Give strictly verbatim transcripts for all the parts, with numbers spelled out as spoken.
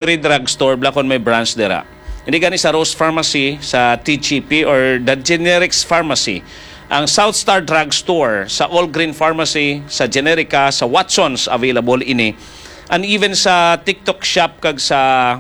Drugstore, bala kon may branch dira. Hindi gani sa Rose Pharmacy, sa T G P, or the Generics Pharmacy. Ang South Star Drugstore, sa All Green Pharmacy, sa Generica, sa Watsons, available ini. And even sa TikTok Shop kag sa,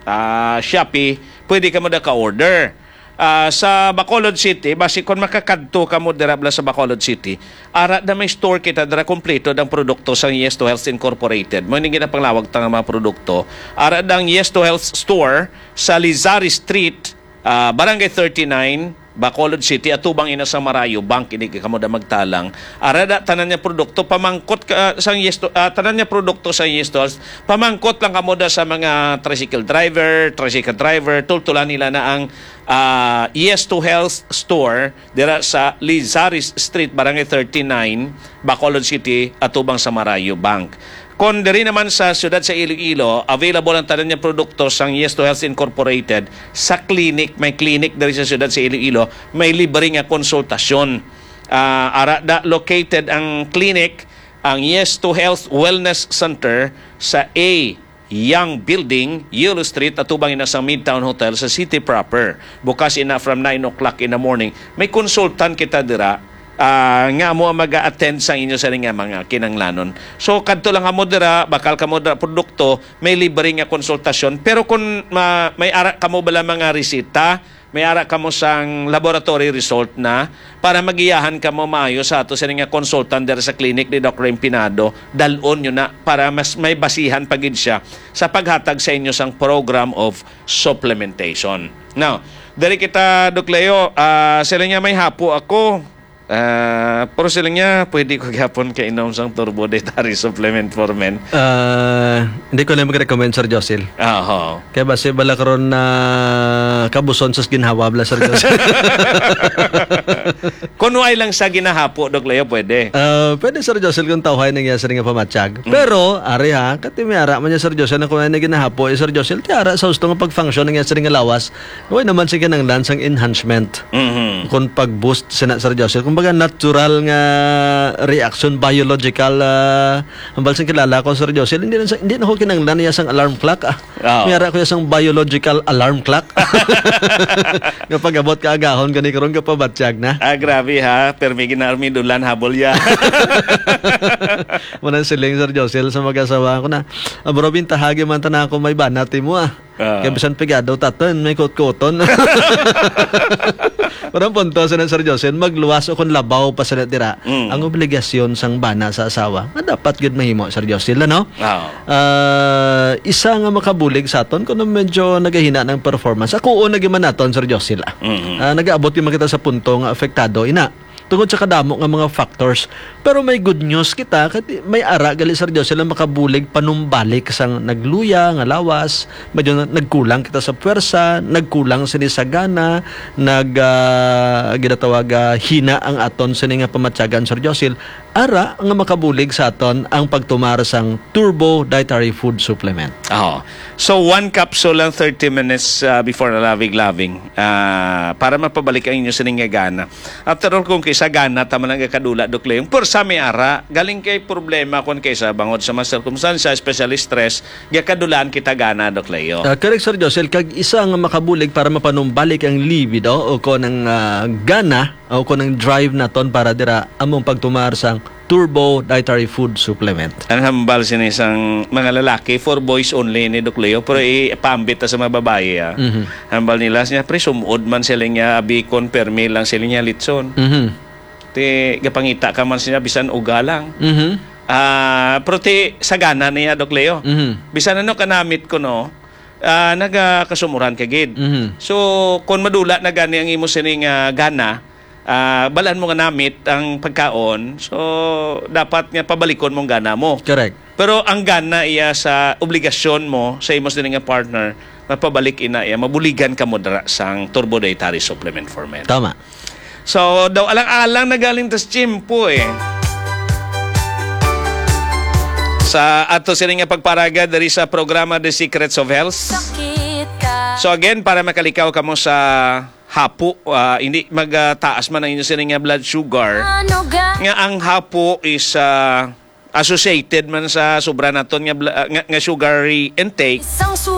ah, Shopee, pwede ka mo da ka-order. Ah, sa Bacolod City, basi kon makakadto ka mo dira bala sa Bacolod City, ara na may store kita dira, kompleto ang produkto sang Yes to Health Incorporated. Mo ning ginapanglawag ta nga mga produkto. Ara na ang Yes to Health Store sa Lizari Street, ah, Barangay thirty-nine, Bacolod City, atubang ina sa Marayo Bank, ini kamo da magtalang. Ara da tanan niya produkto, pamangkot ka, sang Yes to, ah, tanan niya produkto sa Yes to Health. Pamangkot lang kamo da sa mga tricycle driver, tricycle driver, tultulan nila na ang ah, Yes to Health Store dira sa Lizares Street, Barangay thirty-nine, Bacolod City, atubang sa Marayo Bank. Kon diri naman sa siyudad sa Iloilo, available ang tanan niya produkto sang Yes to Health Incorporated sa clinic. May clinic diri sa siyudad sa Iloilo, may libre nga konsultasyon. Ah, ara da located ang clinic, ang Yes to Health Wellness Center sa A Young Building, Yolo Street, atubang ina sa Midtown Hotel sa city proper. Bukas ina from nine o'clock in the morning. May consultant kita dira, ah, nga mo ang mag-attend sa inyo sa nga mga kinanglanon. So, kadto lang kamo dira, bakal kamo dira produkto, may libre nga konsultasyon. Pero kung ma-, may ara kamo bala mga resita, may ara kamo sang laboratory result na para magiyahan kamo maayo sa ato sini nga consultant dira sa clinic ni Doc Rem Pinado. Dal-on nyo na para mas may basihan pa gid siya sa paghatag sa inyo sang program of supplementation. Now, diri kita, Doc Leo, ah, sila niya may hapo ako. Ah, pero sila niya, pwede ko gyapon kainom sang Turbo Dietary Supplement for Men. Ah, hindi ko lang mag-recommend, Sir Josil. Aho. Kaya basi bala karon na kabuson sa ginhawa bala, Sir Josil. Kung way lang sa ginahapo, Doc Leo, pwede. Ah, pwede, Sir Josil, kung tawhay na niya sa nga pamatyag. Mm. Pero, ari ha, kati may ara man niya, Sir Josil, na kung ay na ginahapo, eh, Sir Josil, ti ara sa gusto nga pag-function na niya sa nga lawas, way naman sa kinanglan sang enhancement. Mhm. Kung pag-boost sina, Sir Josil, kumbaga natural nga reaction, biological, ah, ang balsang kilala ko, Sir Josil, hindi na sa, hindi na ko kinanglan niya sang alarm clock, ah. Oo. May ara ko ya sang biological alarm clock. Nga pag-abot ka agahon, gani karon ka pabatyag na. Ah, grabe ha. Permi ginarmi dulan habol ya. Manang siling, Sir Josil, sa mag-asawa ko na, "Ah, bro, bintahagi man ta na ako may banat mo, ah." Ah. Kaya bisan pigado taton, may kutkuton. Pero ang punto, Sir, Sir Josil, magluwas o kung labaw pa sila dira, Mm. ang obligasyon sang bana sa asawa, nga dapat gid mahimo, Sir Josil, ano? Oo. Ah, isa nga makabulig sa aton, kuno medyo nagahina ng performance. Ako, una gyud man naton, Sir Josil, ah. Mhm. Ah, nag-aabot gyud man kita sa punto nga apektado, ina. Tungod sa kadamo nga mga factors. Pero may good news kita, kay may ara gali, Sir Josil, ang makabulig panumbalik sang nagluya nga lawas, medyo na-, nagkulang kita sa puwersa, nagkulang sini sa gana, nag, ah, ginatawag, ah, hina ang aton sini nga pamatyagan, Sir Josil. Ara nga makabulig sa aton ang pagtumar sang Turbo Dietary Food Supplement. Oo. So, one capsule lang thirty minutes, ah, before loving-loving, ah, para mapabalik ang inyo sining nga gana. After all, kung kisa gana ta man ang gakadula, Doc Leong, pero sa may ara, galing kay problema kung kisa bangod sa mga sirkumstansya, especially stress, gakadulaan kita gana, Doc Leo. Ah, correct, Sir Josel. Kag isa nga makabulig para mapanumbalik ang libido o kon ang, ah, gana o kon ang drive naton para dira among pagtumar sang Turbo Dietary Food Supplement. Ang hambal sini sang mga lalaki, for boys only ni Doc Leo, pero ipaambit ta sa mga babayi, ah. Mhm. Hambal nila siya, "Pre, sumod man sila niya, abikon, permi lang sila niya, litson." Mhm. Ti, gapangita ka man siya, bisan uga lang. Mhm. Ah, pero ti, sagana niya, Doc Leo. Mhm. Bisan ano kanamit ko, no, ah, nagakasumuran ka gid. Mhm. So, kung madula na gani ang imo sining, ah, gana, ah, balaan mo nga namit ang pagkaon, so, dapat nga pabalikon mong gana mo. Correct. Pero ang gana iya sa obligasyon mo sa imo sini nga partner, mapabalik ina iya, mabuligan ka mo dira sang Turbo Dietary Supplement for Men. Tama. So, daw alang-alang na galing tas tiyempo, eh. Sa ato sini nga pagparaga diri sa programa The Secrets of Health. Sakit ka. So again, para makalikaw kamo sa hapo, ah, hindi magtaas man ang inyo sini nga blood sugar. Ano ga? Nga ang hapo is, ah, associated man sa sobra naton nga, bla- nga, nga sugary intake. Sang suba